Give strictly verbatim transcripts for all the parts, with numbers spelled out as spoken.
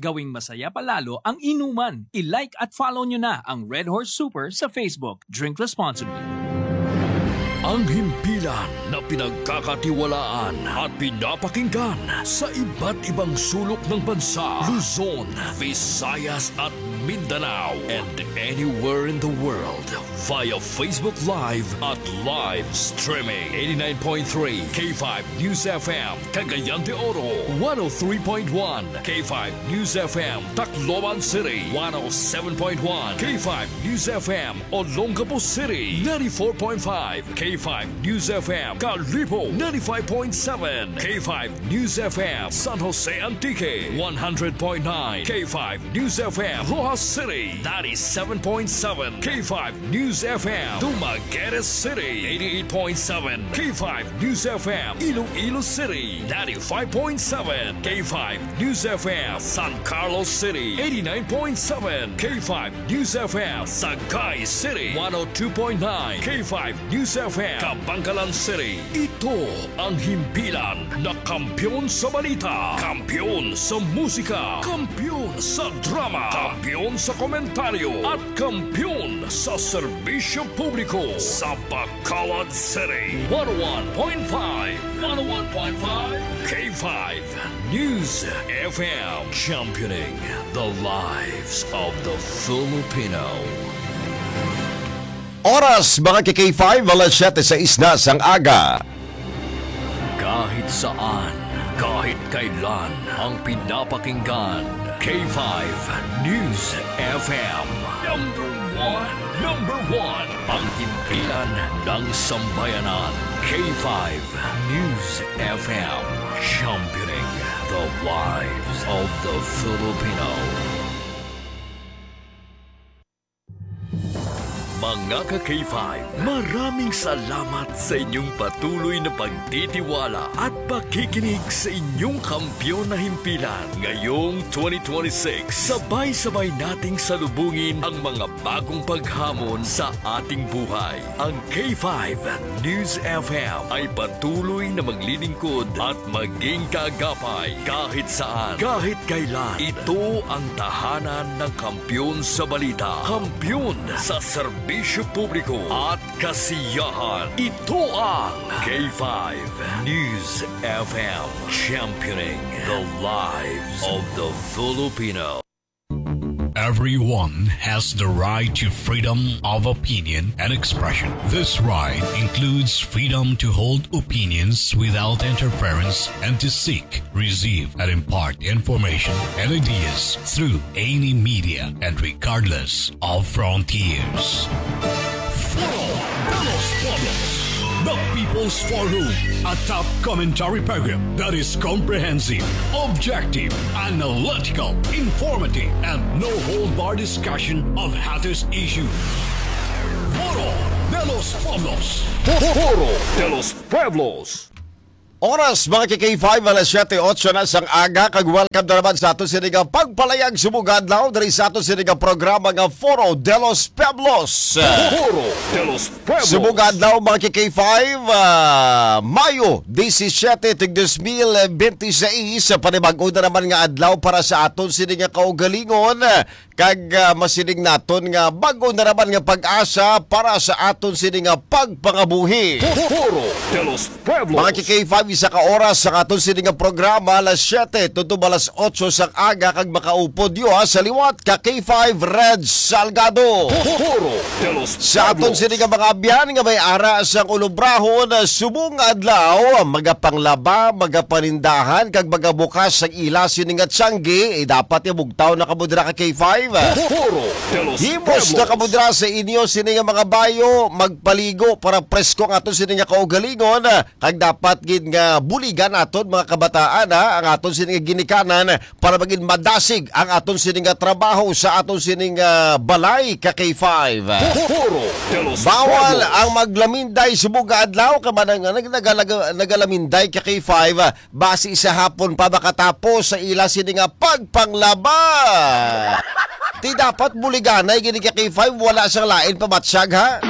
Gawing masaya pa lalo ang inuman. I-like at follow nyo na ang Red Horse Super sa Facebook. Drink responsibly. Ang himpilan na pinagkakatiwalaan at pinapakinggan sa iba't ibang sulok ng bansa, Luzon, Visayas at Mindanao, and anywhere in the world via Facebook Live at live streaming. Eighty-nine point three K five News F M, Cagayan de Oro, one oh three point one K five News F M, Tacloban City, one oh seven point one K five News F M, Olongapo City, ninety-four point five K five News F M, Kalibo, ninety-five point seven K five News F M, San Jose Antique, one hundred point nine K five News F M, Roxas City, ninety-seven point seven K five News F M, Dumaguete City, eighty-eight point seven K five News F M, Iloilo City, ninety-five point seven K five News F M, San Carlos City, eighty-nine point seven K five News F M, Sagay City, one oh two point nine K five News F M, Kabankalan City. Ito ang himpilan na kampiyon sa balita, kampiyon sa musika, kampiyon sa drama, kampiyon sa komentaryo, at kampiyon sa serbisyo publiko sa Bacolod City. One oh one point five, one oh one point five K five News F M, championing the lives of the Filipino. Oras, mga ka-K five, alas siyete sais na sang aga. Kahit saan, kahit kailan, ang pinapakinggan, K five News F M. Number one, number one, ang himpilan ng sambayanan, K five News F M, championing the lives of the Filipino. Mga ka-K five, maraming salamat sa inyong patuloy na pagtitiwala at pakikinig sa inyong kampiyon na himpilan. Ngayong twenty twenty-six, sabay-sabay nating salubungin ang mga bagong paghamon sa ating buhay. Ang K five News F M ay patuloy na maglilingkod at maging kaagapay kahit saan, kahit kailan. Ito ang tahanan ng kampiyon sa balita, kampiyon sa serbisyo publiko at kasiyahan. Ito ang K five News F M, championing the lives of the Filipino. Everyone has the right to freedom of opinion and expression. This right includes freedom to hold opinions without interference and to seek, receive, and impart information and ideas through any media and regardless of frontiers. Foro de los Pueblos, the People's Forum, a top commentary program that is comprehensive, objective, analytical, informative, and no-hold-bar discussion of hottest issues. Foro de los Pueblos. Foro de los Pueblos. Oras, mga ka-K five, alas siyete otso na sang aga, kag welcome na naman sa aton sini nga pagpalayag subong adlaw diri sa aton sini nga programa nga Foro de los Pueblos. Foro de los Pueblos. Subong adlaw, mga ka-K five, ah, Mayo disisiete, tig dos mil benti seis, panibag-o na naman nga adlaw para sa aton sini nga kaugalingon. Kag, ah, masiling naton nga bag-o na naman nga pag-asa para sa aton sini nga pagpangabuhi. Foro de los Pueblos. Mga ka-K five, isa ka oras sa aton sini nga programa, alas siyete tubtob alas otso sang aga, kag makaupod yo, ha, sa liwat ka K five Red Salgado. Foro de los Pueblos. Sa aton sini nga mga abyan nga may ara sang ulubrahon, subong adlaw, magapanglaba, magapanindahan, kag magabukas sang ila sini nga tiyanggi, eh, dapat nga bugtaw na kamo dira ka K five. Foro de los Himos na Pueblos. Kamo dira sa inyo sini nga mga bayo, magpaligo para presko ang aton sini nga kaugalingon, kag dapat gid nga buligan aton mga kabataan, ha, ang aton sini nga ginikanan para magin madasig ang aton sini nga trabaho sa aton sini nga balay ka K five. Foro de los Bawal Pueblos. Ang maglaminday subong nga adlaw, kay man ang nag-, nagalaga-, nagalaminday ka K five, basi sa hapon pa makatapos sa ila sini nga pagpanglaba. Ti dapat buliganay gini ka K five, wala sang lain pa matsyag, ha?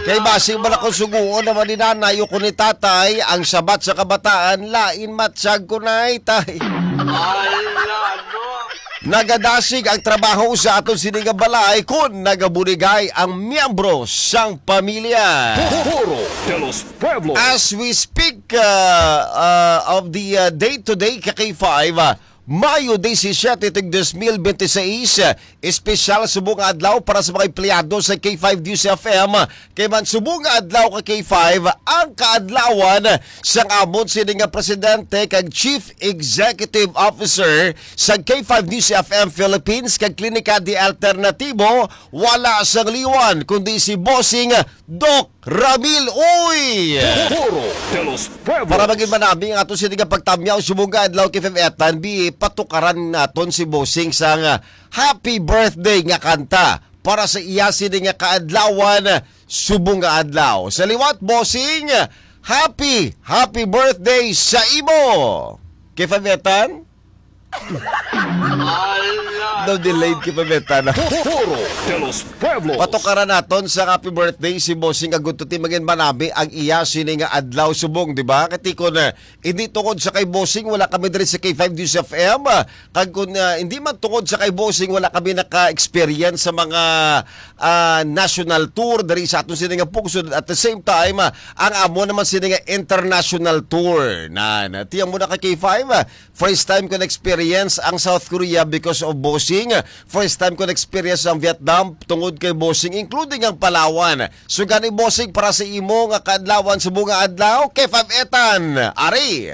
Kay basi man ako suguon naman ni nanay o ko ni tatay, ang sabat sa kabataan, lain matsyag ko, nay, tay. Ala, no? Nagadasig ang trabaho sa aton sini nga balay kon nagabuligay ang miyembro sang pamilya. Foro de los Pueblos. As we speak uh, uh, of the uh, day-to-day ka K five, uh, Mayo disisiete, tig dos mil benti seis, uh, espesyal subong nga adlaw para sa mga empleyado sa K five News F M. Kay man subong nga adlaw ka K five, ang kaadlawan sang amon sini nga presidente kag Chief Executive Officer sa K five News F M Philippines kag Klinika de Alternatibo, wala sang liwan kundi si Bossing Doc Ramil. Uy! Foro de los Pueblos. Para magin manami ang ato sini nga pagtamyaw subong nga adlaw, K five Etan, bi patukaran naton si Bossing sang Happy Birthday nga kanta para sa iya sini nga kaadlawan subong nga adlaw. Sa liwat, Bossing, happy, happy birthday sa imo. K five Etan? No, delayed, K five Etan. Foro de los Pueblos. Patukaran naton sa happy birthday si Bossing Agututi, magin manami ang iya sini nga adlaw subong, di ba? Kati ko na, hindi tungod sa kay Bossing, wala kami diri sa K five News F M. Ah, kag kun ah, hindi man tungod sa kay Bossing, wala kami naka-experience sa mga ah, national tour diri sa aton sini nga pungsod. At the same time, ah, ang amo naman sini nga international tour. Na, na tiyang mo na ka K five, ah, first time ko na-experience ang South Korea because of Bossing. First time ko na-experience ang Vietnam tungod kay Bossing, including ang Palawan. So gani, Bossing, para sa imo nga kaadlawan subong nga adlaw, K five Etan, ari.